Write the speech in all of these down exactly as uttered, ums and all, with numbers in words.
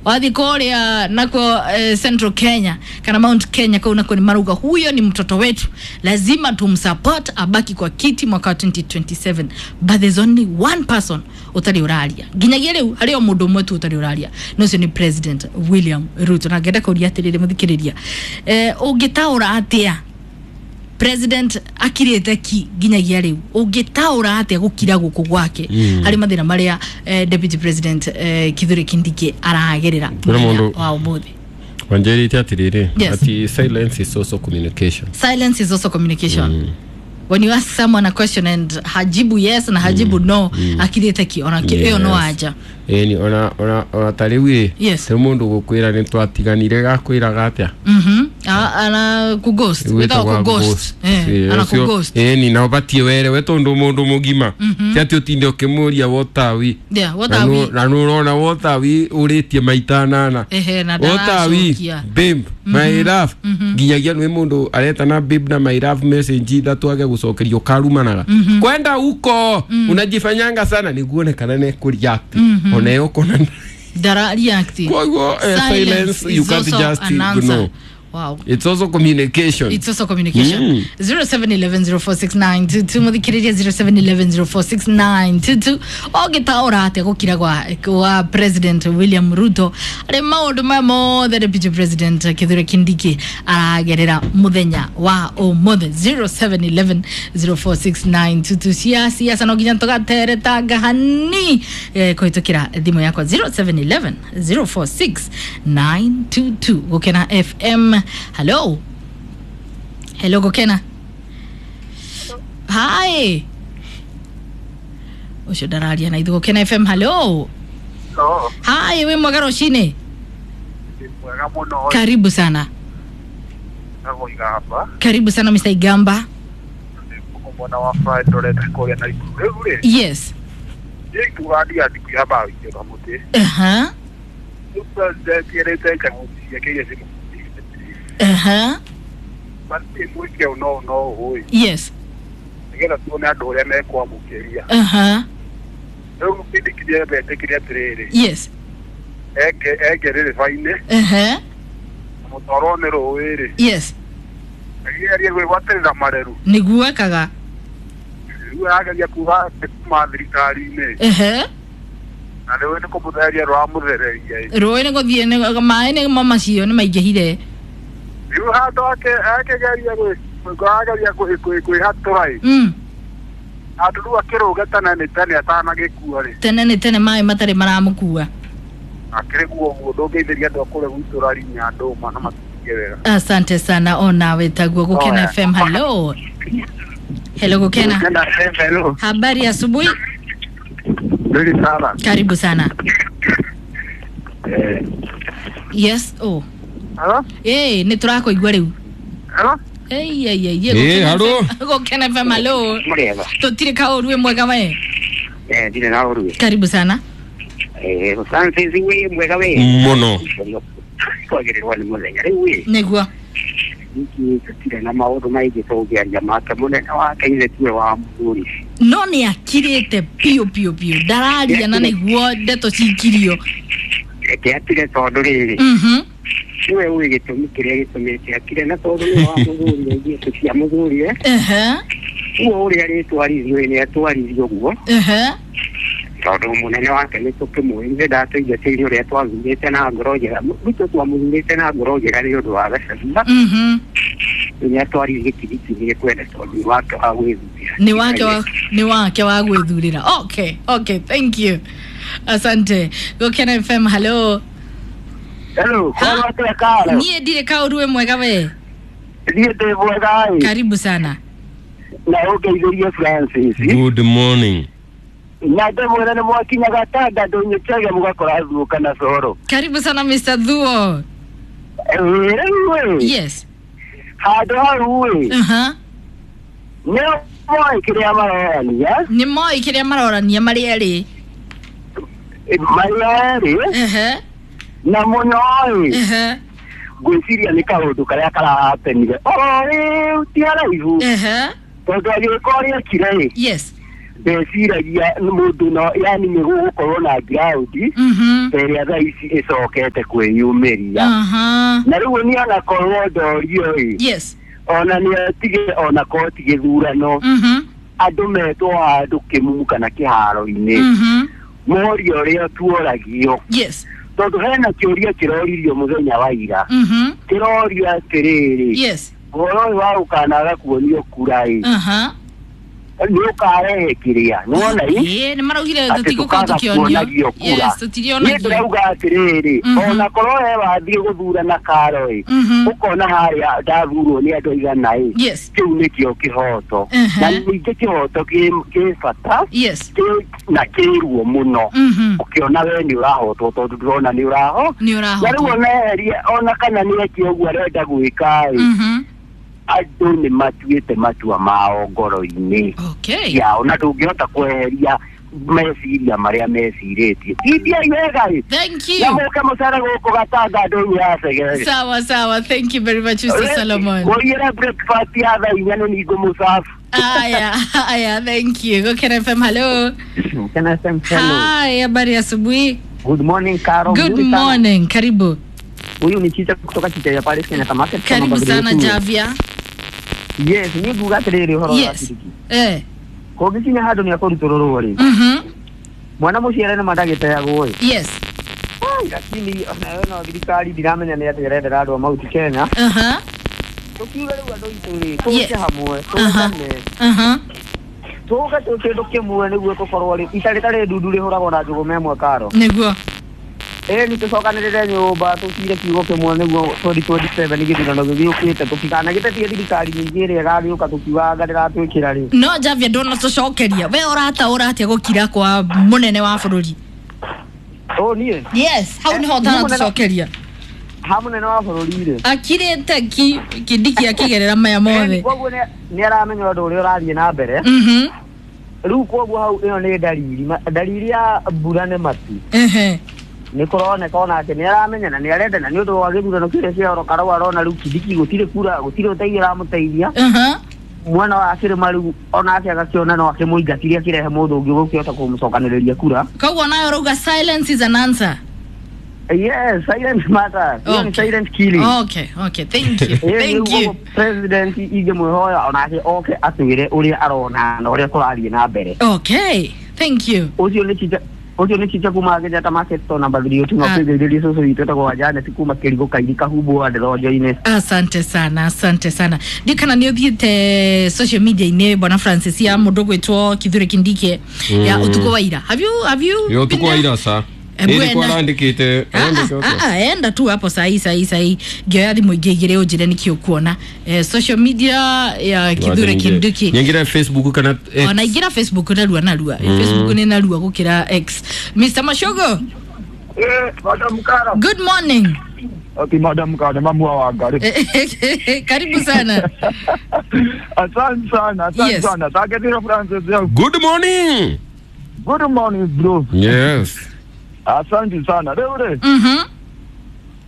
Wathi kuria nako eh, Central Kenya kana Mount Kenya kau nako ni maruga huyo ni mtoto wetu, lazima tumsupport abaki kwa kiti mwaka wa twenty twenty-seven. But there's only one person utari uraria nginyagia riu hari o mundu umwe tu utari uraria, no cio ni President William Ruto. Na ngenda kuria atiriri muthikiriria, eh ungitaura atia President akirite ki nginyagia riu, ungitaura atia gukira guku gwake hari mathina maria eh, Deputy President eh, Kithure Kindiki aragerera wa umuthi? Wanjerite atiriri Yes. Ati silence is also communication. Silence is also communication. Mm. When you ask someone a question and hajibu yes na hajibu mm. no, mm. akirite ki ona ki iyo no aja. Eni ona ona ona tariu Yes. te mundu gukwira ni twatiganire gakwiraga atia. Mhm. Ana ku ghost. Without ku ghost. Eh, ana ku ghost. Eni na ubatie were we tondu mundu mugima. Ti ati utinde ukimuria what are we? Yeah, what are we? Na nurona what are we uritie maita nana. Ehe, na What are we? ndaracokia. Babe, my love. Nginyagia nĩ mundu aretana babe na my love message ithatu age gucokerio karumanaga. Kwenda huko unajifanyanga sana niguone kana ne ku react. Ona yo kona Ndara react. Koguo eh, silence you is can't also just an answer. ignore. Wow. It's also communication. It's also communication. Mm. zero seven eleven zero four six nine two two muthikiriria zero seven eleven zero four six nine two two ogitaura atia gukira gwa kwa President William Ruto ari maundu maya mothe Deputy President Kithure Kindiki aragerera muthenya wa umuthi. Zero seven eleven zero four six nine two two cia siasa no nginya tugateretanga hani eh, kuhitukira thimu yakwa zero seven eleven zero four six nine two two. Gukena F M. Hello. Hello, Gukena. Hi. Ucio ndararia na ithu Gukena F M. Hello. Oh, Hi, we mwega rucini. mwega muno. Karibu sana. Nago Igamba. Karibu sana Mister Igamba. Mwana wa Friday ndorete kuria na ikuru. Riu ri. Yes. Ikurandia ndiku ya bawi ya muti. Uh-huh. Riu president yerete chaguzi ciake iria cimu. Uh-huh. Basi mwike no no hoi. Yes. Nigetha tuone andu uria mekwamukiria. Uh-huh. Riu kindikiria betekiria atiriri. Yes. Eke eke riri faine. Uh-huh. Mutoro ni rui ri. Yes. Ageria gwigwatirira mareru. Niguo ekaga. Riu arageria kuga kuma thirikari-ini. Uh-huh. Na riu ni kumuthereria rwamuthereria. Rui ni guthie ni maĩ ni mo macio ni maingĩhire. Riu handu ake akegeria gwi ageria kwĩhatũra ĩ. Mm. Handũ rĩu akĩrũge tene nĩ tene atanagĩkua rĩ. Tene nĩ tene maĩ matarĩ maramũkua. Akĩrĩguo ũguo ndũngĩithĩria andũ a kũrĩa gwitũ rarinya ndũma na matiige wega. Asante sana ona wetagwo Gukena Oya. F M. Hello. Hello Gukena. Gukena F M, hello. Habari asubuhi. Nzuri sana. Karibu sana. Eh. Yes, oh. Hello? Eh, ni turakuigua riu. Hello? Ei ei ei. Eh, hello. Gukena F M, hello. Mureba. Tutire kauru we mwega we. Eh, ndire na uru. Karibu sana. Eh, Francis we mwega we. Muno. Kwagererwa ni muthenya riu we. Niguo. Niki tutire na maundu maingi tũngĩaria make mũnene wake ithe tiwe wa mũthuri. No ni akirite piũ piũ piũ. Ndararia na niguo ndeto cikirio. Reke atire tondu rĩrĩ. Mhm. Niwe ũĩ gĩtũmi kĩrĩa gĩtũmĩte akire na tondu nĩwe wa mũthuri ithuĩ tũtia mũthuri eh. Ehe. Ũguo ũrĩa rĩtwarithio nĩ atwarithio ũguo. Ehe. Tondu mũnene wake nĩ tũkĩmũĩ ithe ndatũingatĩire ũrĩa twathurĩte na ngoro njega. Ruto twamũthurĩte na ngoro njega nĩ ũndũ wa Gachagua. Mhm. Nĩ atwarithie gĩtigiti gĩkwenda tondu nĩ wake wa gwĩthurĩra. Ni wake wa ni wake wa gwĩthurĩra. Okay, okay, thank you. Asante. Gukena F M, hello. Hello, kwa atĩa Karo? Niĩ ndirĩ kaũru wĩ mwega we. Niĩ ndĩ mwega ĩ. Karibu sana. Na ũngeithĩrie Francis. Good morning. Na ndĩmwĩre nĩ mwakinyaga Tanda ndũnyũ Chege mũgakora Thuo kana Coro. Karibu sana Mister Thuo. Rĩu ĩ. Yes. Handũ hau ĩ. Uh-huh. Nĩ moĩ kĩrĩa marorania. Nĩ moĩ kĩrĩa marorania marĩ erĩ. Marĩ erĩ. Uh-huh. Na mũno ĩ. Uh-huh. Ngwĩciria nĩ kaũndũ karĩa karahapenire. O rĩu ti haraihu. Uh-huh. Tondũ agĩũka ũrĩa ekire ĩ. Yes. Ndeciragia mũndũ no yani nĩ gũgũkorwo na ground Mhm. ĩrĩa thaa ici ĩcokete kwĩyumĩria. Aha. Na rĩu niĩ onakorwo ndorio ĩ, Yes. ona nĩ atige onakorwo ti gĩthurano, Mhm. andũ metwo handũ kĩmumu kana kĩharo-inĩ, Mhm. morio ũrĩa tuoragio, Yes. tondũ hena kĩũria kĩroririo mũthenya wa ira, Mhm. kĩrorio atĩrĩrĩ, Yes. ũhoro ũyũ wa gũkanaga kuonio kura ĩ, Aha. nĩ ũkarehe kĩrĩa nĩwona ĩ, Ĩĩ, nĩ maraugire atĩ tũtigũkorwo tũkaga tũkĩonio. kuonagio kura. Yes, Niĩ tũtirionagio. ndĩrauga atĩrĩrĩ, Mhm. ona korwo he wathiĩ gũthurana karo ĩ, Mhm. ũkona harĩa ndathurwo nĩ andũ aigana ĩ, Yes. kĩu nĩkĩo kĩhoto. Mhm. Na ningĩ kĩhoto kĩ kĩ bata Yes. kĩ- na kĩruo mũno, Mhm. ũkĩona we nĩ ũrahotwo tondũ ndũrona nĩ ũraho. Nĩ Na rĩu ũrahotwo. ona eherie ona kana nĩ eke ũguo arenda gwĩka ĩ, Mhm. andũ nĩ matuĩte matua mao ngoro-inĩ Okay. yao, na ndũngĩhota kweheria meciria marĩa mecirĩtie. Tindiai wega ĩ, Thank na you. mũke mũcere gũkũ Gatanga ndũnyũ ya Segere. Sawa sawa. Thank you very much, Mister Solomon. Kũiyĩra breakfast ya thaa inya nĩ ningũ mũcabu. Aya, aya, thank you. Gokera F M, hello. Can I say hello? Hi, habari asubuhi. Good morning, Caro. Good Mzuri sana. morning. Karibu. Huyu ni Chicha kutoka Chicha ya Paris Kenya Market. Kama Karibu Bagri sana yetu. Javia. Yes, ni nguga atiriri uhoro wa Yes. Kindiki. Eh. Kũngĩkinya handũ nĩ akũrutũrũrwo rĩ, Mhm. mwana mũciare nĩ mandagĩteagwo ĩ. Yes. Ai, lakini onayo no thirikari ndiramenya nĩ atĩa ĩrendera andũ a Mount Kenya. Aha. Tũkiuga rĩu andũ aitũ rĩ, tũke Yes. hamwe, Aha. tũgane, Aha. tũke twĩ kĩndũ kĩmwe nĩguo tũkorwo rĩ, ita rĩtarĩ ndundu rĩhũragwo na njũgũma ĩmwe karo. Nĩguo. Ĩ nĩ tũcokanĩrĩre nyũmba tũcire kiugo kĩmwe nĩguo twenty twenty-seven gĩthurano gĩgĩũkĩte tũtikanagĩtetie thirikari nyingĩ ĩrĩa ĩgagĩũka tũkiugaga ndĩratwĩkĩra rĩ. No Javia ndũnatũcokeria. We ũrataũra atĩa gũkira kwa mũnene wa bũrũri? Ũ niĩ? Yes, hau nĩho Eh, mũnene- ũtanatũcokeria. Ha mũnene wa bũrũri rĩ. Akirĩte ki Kindiki akĩgerera maya mothe. Koguo nĩ nĩ aramenya ũndũ ũrĩa ũrathiĩ na mbere. Mhm. Rĩu koguo hau ĩyo nĩ ndariri. Ma- Ndariri ya mbura nĩ matu. Ehe. Nĩ kũroneka onake nĩ aramenya na nĩ arenda na nĩ ũndũ wa gĩthurano kĩrĩa kĩa Oro Karau arona rĩu Kindiki gũtirĩ kura gũtirĩ ũteithio ũramũteithia. Aha. Mwana wa kĩrĩma rĩu onake agakĩona no akĩmũingatithie akĩrehe mũndũ ũngĩ ũgũkĩhota kũmũcokanĩrĩria kura. Koguo nayo ũrauga silence is an answer. Yes, silent matters. Hiyo ni Okay. silent killing. Okay, okay. Thank you. Ĩĩ, Thank rĩu you. ũguo president ingĩmwĩhoya onake oke atwĩre ũrĩa arona na ũrĩa kũrathiĩ na mbere. Okay. Thank you. Ũcio nĩ Chicha ũcio nĩ Chicha kuma Kenyatta Market to namba three ũting'o Ah. kwĩgeithĩria cũcũ witũ etagwo wa Janet kuma Kĩrigũ Kairi Kahumbu wa Ndĩronjo-inĩ. Asante sana, asante sana. Ndiũ kana nĩ ũthiĩte social media-inĩ bwana Francis ya mũndũ gwĩtwo Kithure Kindiki ya ũtukũ wa ira. Have you have you Yo been tuko there? ira sa. Ebu Ĩrĩ enda. kwa arandĩkĩte Ah, arandĩka ah, atĩa? ah, enda tu hapo sahi sahi sahi ngĩoya thimũ ingĩ igĩrĩ ũnjĩre nĩkĩ ũkuona eh, social media ya Kithure Kindiki. Nyingĩre Facebook kana X. Ona ingĩra Facebook narua narua. mm. Facebook nĩ narua gũkĩra X. Mister Mashogo, Eh, Madam Karo. good morning. Okay, Madam Karo, mamu wa Wangari. Karibu sana. Asante sana, asante Yes. sana. Taketira Francis yangu. Good morning. Good morning bro. Yes. Asante sana. Rĩu rĩ, Mhm.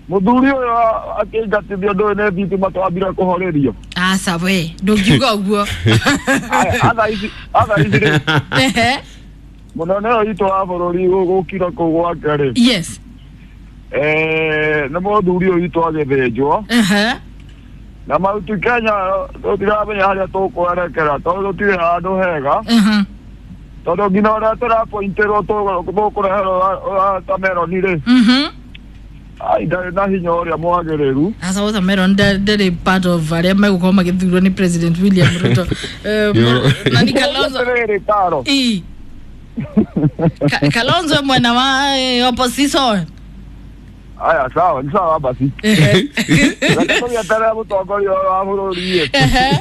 mũthuri ũyũ akĩingatithio ndũĩ nĩ thitima twambire kũhorerio. Aca we, ndũngiuga ũguo. Aya, atha ici atha ici rĩ, Ehe. mũnene ũyũ witũ wa bũrũri gũkira kũu gwake rĩ, Yes. eh, nĩ mũthuri ũyũ witũ agĩthĩnjwo Ehe. na Mount Kenya tũtiramenya harĩa tũkwerekera tondũ tũtirĩ handũ hega. Mhm. Tondũ nginya ũrĩa tũrapointerwo tũkũreherwo watermelon rĩ, Mhm. ai ndarĩ na hinya ũrĩa mwagĩrĩru. Asa watermelon ndarĩ part of arĩa megũkorwo magĩthurwo nĩ President William Ruto. Eh, na ni Kalonzo. Atĩrĩrĩ Karo, Ii. Ka- Kalonzo mwena wa eh, opposition. aya sawa ni sawa basi. Ehe. Reke tũgĩeterere mũtongoria ũyũ wa bũrũri ĩ, Ehe.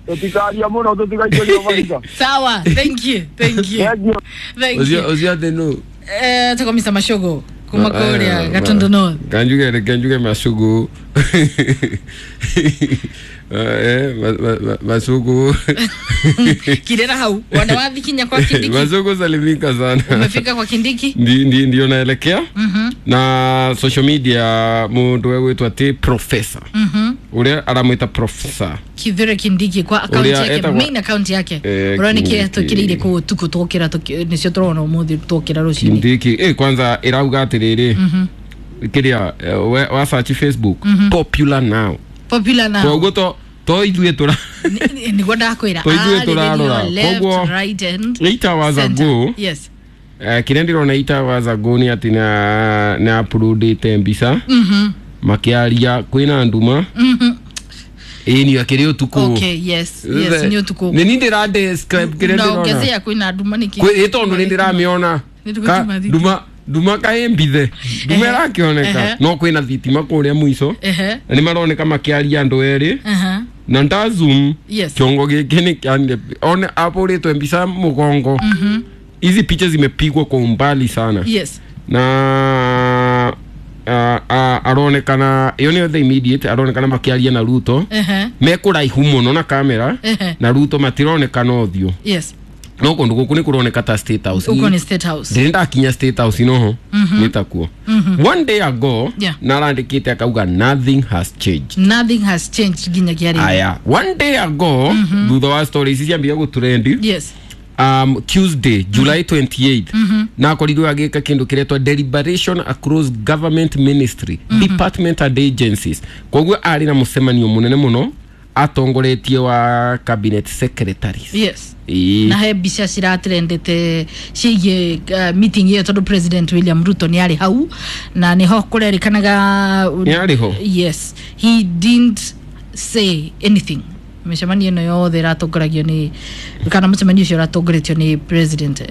tũtikaria mũno tũtigaikĩrio mahiga. Sawa, thank you. Thank you. Thank you. Thank Ũcio you. ũcio atĩ nũ? Eh, tuko Mister Mashogo kuma kũrĩa Gatundu North. Kanjuge reke njuge Mashogo. Eh, Masuku Kirera hau wana wathi kinya kwa Kindiki. Masuku salimika sana. Umefika kwa Kindiki? Ndi ndi ndio naelekea. Mm-hmm. Na social media mundu wegwitwa ati professor. Mhm. Uria aramwita professor Kithure Kindiki kwa account yake, main account yake. Eh, Urona kire tukirire ku tuku tukira nicio turona umuthi tukira rucini. Kindiki eh kwanza irauga atiriri. Mhm. Kiria wa search Facebook mm -hmm. Popular now. Popular now. Koguo to to ithuĩ tũra niguo ndakwĩra to ithuĩ tũrarora koguo right and eight hours ago. Yes. Eh kĩrĩa ndĩrona eight hours ago nĩ atĩ na na uploadĩte mbica mhm makiaria kwĩna nduma mhm ĩĩ ni akĩrĩ ũtukũ. Okay, yes yes ni ũtukũ nĩ ni ndĩra describe kĩrĩa ndĩrona na ongezea kwĩna nduma nĩkĩ kwĩ tondũ nĩ ndĩramĩona nduma nduma kaĩ mbithe nduma ĩrakĩoneka no kwĩna thitima kũrĩa mũico na nĩ maroneka makĩaria andũ erĩ na nda zoom kĩongo gĩkĩ nĩ kĩanire one apũrĩtwe mbica mũgongo. Hizi picha zimepigwa kwa umbali sana. Yes. Na aronekana iyo nĩyo the immediate aronekana makĩaria na Ruto mekũraihu mũno na kamera na Ruto matironekana ũthiũ. Yes. No kundu guku ni kuroneka ta State House. Uko ni State House. Ndiri ndakinya State House noho nitakuo. One day ago yeah. Narandikite akauga nothing has changed. Nothing has changed ginya kiari. Aya, one day ago thutha wa stories ici ciambia gũtrendi. Yes. Um, Tuesday, July twenty-eighth, mm -hmm. na akorirwo agĩka kĩndũ kĩretwa deliberation across government ministry, mm -hmm. department and agencies. Koguo arĩ na mũcemanio mũnene mũno atongoretie wa cabinet secretaries. Yes. E. Na he mbica ciratrendete ciĩgiĩ uh, meeting ĩyo tondũ President William Ruto nĩ arĩ hau na nĩho kũrerĩkanaga nĩ arĩ ho. Yes, he didn't say anything. Mĩcemanio ĩno yothe ĩratongoragio nĩ kana mũcemanio ũcio ũratongoretio nĩ President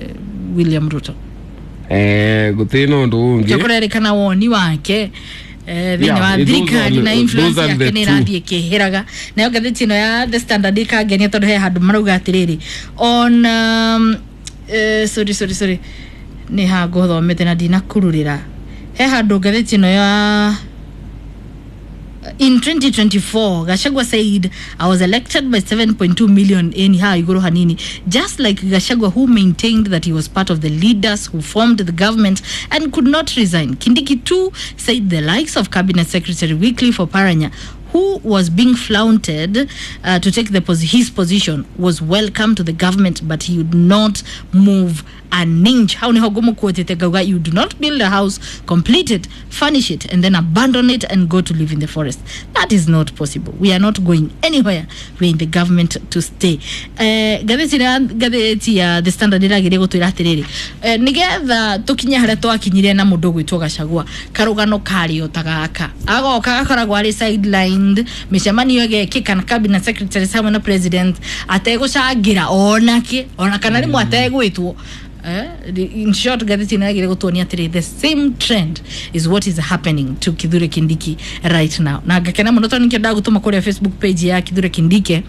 William Ruto. Eh, gũtirĩ na ũndũ ũngĩ. Kũrerĩkana woni wake eh thĩinĩ wa thirikari na influence yake nĩ ĩrathiĩ ĩkĩhĩraga. Nayo ngathĩti ĩno ya The Standard ĩkangenia tondũ he handũ marauga atĩrĩrĩ on um, eh, sorry sorry sorry nĩ ha ngũthomete na ndinakururĩra. He handũ ngathĩti ĩno ya in twenty twenty-four, Gachagua said, I was elected by seven point two million in iguru hanini. Just like Gachagua, who maintained that he was part of the leaders who formed the government and could not resign. Kindiki too said the likes of Cabinet Secretary Wycliffe Oparanya, who was being flaunted uh, to take the pos his position, was welcome to the government, but he would not move an inch. How ni hogomo kuotete gauga, you do not build a house, complete it, furnish it, and then abandon it and go to live in the forest. That is not possible. We are not going anywhere. We are in the government to stay. Eh, gatheti gatheti ya The Standard irageria gutwira atiriri eh, nigetha tukinye haria twakinyire na mundu gwitwo Gachagua karugano kario ta gaka agoka gakoragwo ari sidelined micemanio ĩgekĩka na cabinet secretary hamwe na president ategũcangĩra onake ona kana rĩmwe ategwĩtwo. Eh, in short, gatheti inagire gutuonia atiri the same trend is what is happening to Kithure Kindiki right now. Na ngakena muno tondu nikio ndagutuma kuria Facebook page ya Kithure Kindiki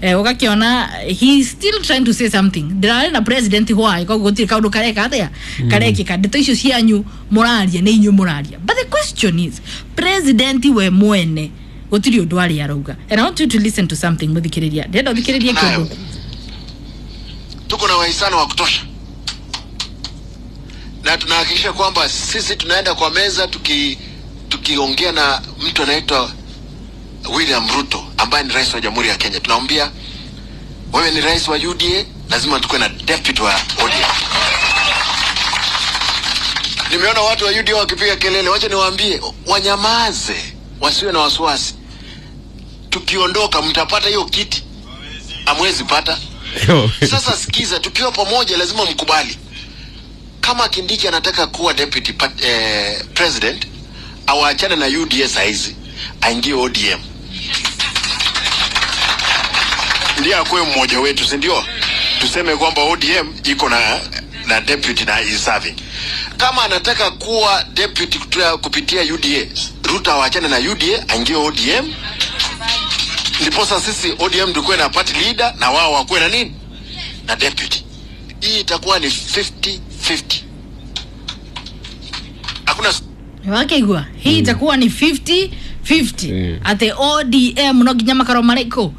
eh, ugakiona he is still trying to say something. Ndirari na president why koguo gutiri kaundu kareka atia karekika ndeto icio cianyu muraria ni inyu muraria, but the question is president we mwene gutiri undu ari arauga. And I want you to listen to something muthikiriria ndenda thikiriria kindu. Tuko na wahisani wa kutosha na tunahakikisha kwamba sisi tunaenda kwa meza tuki tukiongea na mtu anaitwa William Ruto ambaye ni rais wa Jamhuri ya Kenya. Tunaambia wewe ni rais wa U D A, lazima tukue na deputy wa O D M. Nimeona watu wa U D A wakipiga kelele, wacha niwaambie wanyamaze, wasiwe na wasiwasi. Tukiondoka mtapata hiyo kiti? Hamwezi pata. Sasa sikiza, tukiwa pamoja lazima mkubali. Kama Kindiki anataka kuwa deputy eh, president, awaachane na U D A saizi, aingie O D M. Ndiye akuwe mmoja wetu, si ndio? Tuseme kwamba O D M iko na na deputy na is serving. Kama anataka kuwa deputy kupitia U D A, Ruto awaachane na U D A, aingie O D M. Ndiposa sisi O D M tukuwe na party leader na wao wakuwe na nini? Na deputy. Hii itakuwa ni fifty fifty. Hakuna Wakeigua. Hii itakuwa ni fifty fifty Mm. Atĩ O D M no nginya makarwo marĩkũ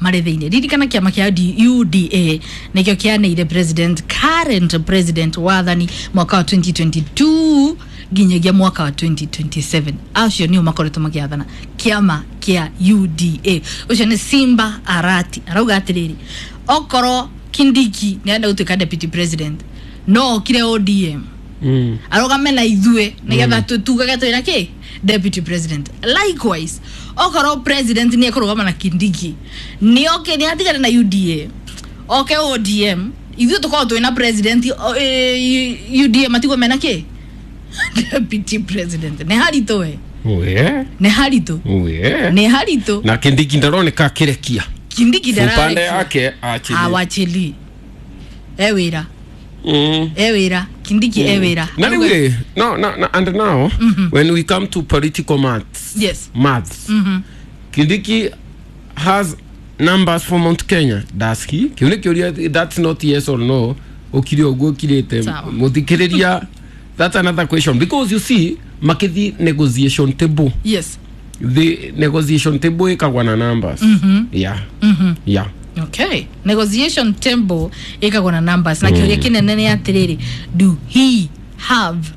marĩ thĩinĩ. Ririkana kĩama kĩa U D A nĩkĩo kĩaneire president, current president wathani mwaka wa twenty twenty-two nginyagia mwaka wa twenty twenty-seven. Acio nĩo makoretwo magĩathana kĩama kĩa U D A. Ũcio nĩ Simba Arati arauga atĩrĩrĩ, okorwo Kindiki nĩarenda gũtuĩka deputy president no okire O D M Mm. arũgame na ithuĩ nĩgetha tugage twĩna kĩ deputy president. Likewise okorwo president nĩ ekũrũgama na Kindiki nĩ oke nĩ atigane na U D A oke O D M ithuĩ tũkorwo twĩna president o, e, U D A matigwo mena kĩ deputy president. Nĩ haritũ we. We. Nĩ haritũ. We. Nĩ haritũ. Na Kindiki ndaroneka akĩrekia. Kindiki Upande ndararekia. yake achili. Awachili e wĩra. Mm. E wĩra Kindiki e wĩra. Na rĩu no, no, no, and now mm-hmm. when we come to political maths, yes, maths, mm-hmm. Kindiki has numbers for Mount Kenya. Does he? Kĩu nĩ kĩũria, that's not yes or no. Ũkire ũguo ũkirĩte mũthikĩrĩria, that's another question because you see makithi negotiation table. Yes. The negotiation table ĩkagwa na numbers. Mm-hmm. Yeah. Mm-hmm. Yeah. Okay. Negotiation table ĩkagwa na numbers. Na kĩũria kĩnene nĩ atĩrĩrĩ, do he have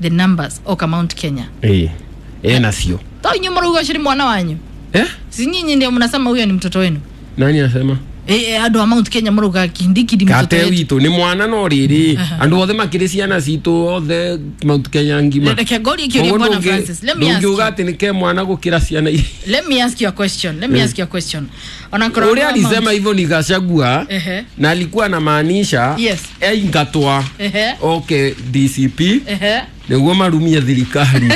the numbers oka Mount Kenya? Eh. Ena sio. To inyuĩ mũrauga ũcio nĩ mwana wanyu? Eh? Si nyinyi ndio mnasema huyo ni mtoto wenu? Nani anasema? Eh, eh, andũ a Mount Kenya mũrauga Kindiki ndi mtoto Kate wetu. witũ nĩ mwana no rĩrĩ andũ othe makĩrĩ ciana citũ othe Mount Kenya ngima. Reke ngorie kĩũria Bwana Francis. Let me ask ndũngiuga you. atĩ nĩ ke mwana gũkĩra ciana iria. Let me ask you a question. Let me ask you a question. Ona korwo Ũrĩa alisema hivyo ni Gachagua Ehe. na alikuwa anamaanisha Yes. aingatwa Ehe. okay D C P Ehe. nĩguo marumie thirikari.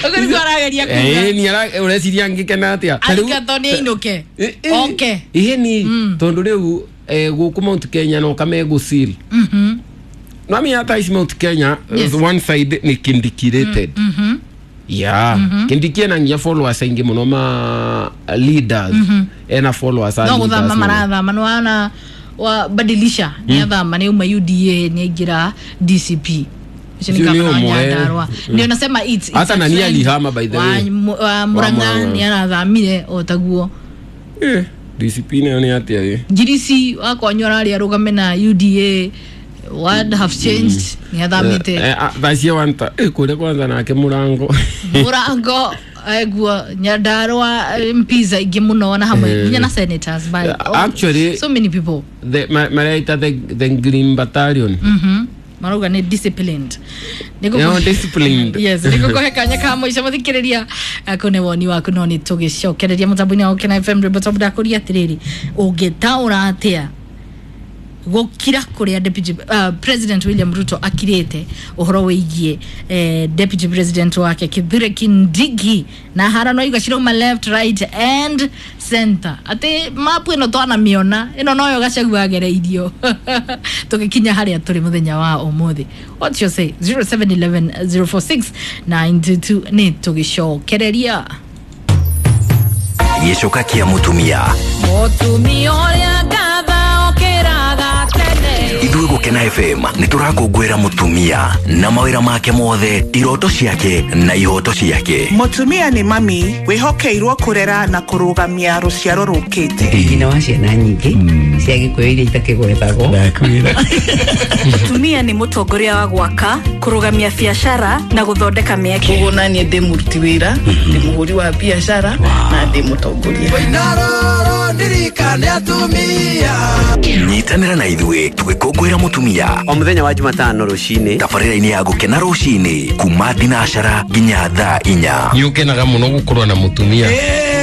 Ũguo nĩguo arageria kuga. Eh, ni ara ũreciria ngĩkena atĩa? Ta rĩu- Aingatwo nĩ ainũke. Eh, eh, Oke. Ĩhĩ ni tondũ rĩu eh, gũkũ Mount Kenya no kamegũcil. Mhm. Nami hata ici Mount Kenya Yes. one side ni Kindiki rated. Mhm. Yeah. Kindiki ena nginya followers aingĩ mũno ma leaders. Ena followers a No leaders gũthama mũno. marathama nĩ wana wa badilisha nĩ athama nĩ uma U D A nĩ aingĩra D C P. Ũcio nĩ Ũcio nĩ gavana wa ũmwe. Nyandarua. Ndio nasema it's, it's Hata a nani trend. alihama by the way. Wa, wa Murang'a Murang'a. nĩ arathamire o taguo. Eh, D C P nayo nĩ atĩa ĩ? Ngirici wakwanyu ararĩ arũgame na U D A. What have changed? Nĩ athamĩte. Eh, eh, thaa cia wanta eh, kũrĩa kwanza nake mũrango. Mũrango eguo Nyandarua M Ps aingĩ mũno na hamwe Eh. nginya na senators by Eh, actually- so many people. The ma- mareita the, the Green Battalion. Mhm. Marauga nĩ disciplined. Nĩ No, disciplined. Yes, nĩ gũkũhe kanya ka mũico mũthikĩrĩria kũ nĩ woni waku no nĩ tũgĩcokereria mũtambo-inĩ wa Gũkena F M rwĩmbo tondũ ndakũria atĩrĩrĩ, ũngĩtaũra atĩa gũkira kũrĩa deputy uh, President William Ruto akirĩte ũhoro wĩgiĩ eh, deputy president wake Kithure Kindiki na harano igwa cirauma left right and center atĩ mapu ĩno twanamĩona ĩno noyo Gachagua agereirio tũgĩkinya harĩa tũrĩ mũthenya wa ũmũthĩ. What's your say? zero seven eleven zero four six nine two two nĩ tũgĩcokereria Gĩcoka kĩa mũtumia. Mũtumia ũrĩa ngatha okĩraga tene. Ithuĩ Gũkena F M nĩ tũrakũngũĩra mũtumia na mawĩra make mothe, iroto ciake na ihoto ciake. Mũtumia nĩ mami wĩhokeirwo kũrera na kũrũgamia rũciaro rũkĩte. Nyina wa ciana nyingĩ cia Gĩkũyũ iria itakĩgwetagwo. Mũtumia nĩ mũtongoria wa gwaka, kũrũgamia biacara na gũthondeka mĩeke. Koguo naniĩ ndĩ mũruti wĩra, ndĩ mũhũri wa biacara na ndĩ mũtongoria. Nyitanĩra na ithuĩ tũgĩkũngũĩra mũtumia o mũthenya wa Jumatano rũcinĩ tabarĩra-inĩ ya Gũkena rũcinĩ kuma thinacara nginya thaa inya. Nĩ ũkenaga mũno gũkorwo na mũtumia.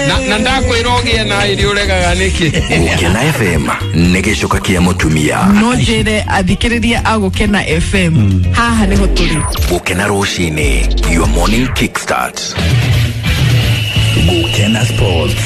Na, na ndakwĩra ũgĩe na ĩrĩ ũregaga nĩkĩ? Gũkena F M nĩ gĩcoka kĩa mũtumia. No njĩre athikĩrĩria a Gũkena F M haha nĩho tũrĩ. Gũkena rũcinĩ, your morning kickstart. Gũkena Sports.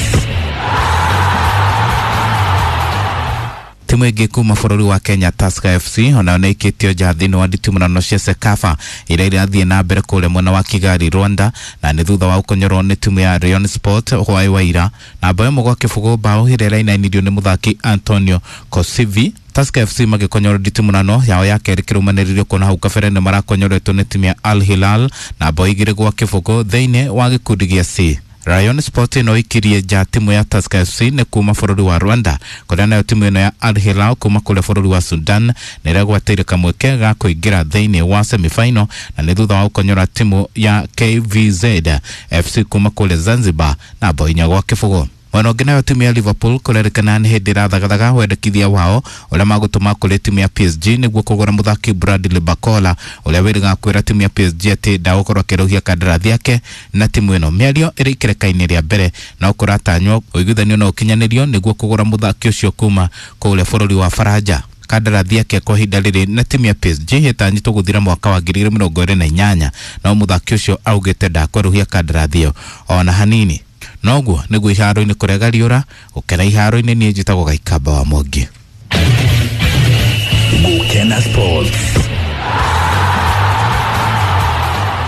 Timu ĩngĩ kuma bũrũri wa Kenya Tusker F C onayo nĩ ĩikĩtio nja thĩinĩ wa nditimũrano cia CECAFA iria irathiĩ na mbere kũrĩa mwena wa Kigali Rwanda, na nĩ thutha wa gũkonyorwo nĩ timu ya Rayon Sport hwaĩ wa ira na bao ĩmwe gwa kĩbũgũ, bao ĩrĩa ĩrainainirio nĩ mũthaki Antonio Kosivi. Tusker F C magĩkonyora nditimũrano yao ya kerĩ kĩrũmanĩrĩrio kuona hau kabere nĩ marakonyoretwo nĩ timu ya Al Hilal na bao igĩrĩ gwa kĩbũgũ thĩinĩ wa gĩkundi gĩa C. Rayon Sport ĩno ikirie nja timu ya Tusker F C nĩ kuma bũrũri wa Rwanda kũrĩa nayo timu ĩno ya Al Hilal kuma kũrĩa bũrũri wa Sudan nĩ ĩregwatĩire kamweke ga kũingĩra thĩinĩ wa semifinal na nĩ thutha wa gũkonyora timu ya K V Z F C kuma kũrĩa Zanzibar na bao inya gwa kĩbũgũ. Mwena ũngĩ nayo timu ya Liverpool kũrerĩkana nĩ hĩndĩ ĩrathagathaga wendekithia wao ũrĩa magũtũma kũrĩ timu ya P S G nĩguo kũgũra mũthaki Bradley Barcola ũrĩa wĩrĩga kwĩra timu ya P S G atĩ ndagũkorwo akĩrũhia kandarathi yake na timu ĩno. Mĩario ĩrĩ ikereka-inĩ rĩa mbere no kũratanywo ũiguithanio no ũkinyanĩrio nĩguo kũgũra mũthaki ũcio kuma kũrĩa bũrũri wa Faranja. Kandarathi yake kwa ihinda rĩrĩ na timu ya P S G ĩtanyĩtwo gũthira mwaka wa ngiri igĩrĩ mĩrongo ĩrĩ na inyanya no mũthaki ũcio augĩte ndakwerũhia kandarathi ĩyo ona hanini. Noguo nĩguo iharo-inĩ kũrega riũra gũkena iharo-inĩ niĩ njĩtagwo Gaikamba wa Mwangi. Gũkena Sports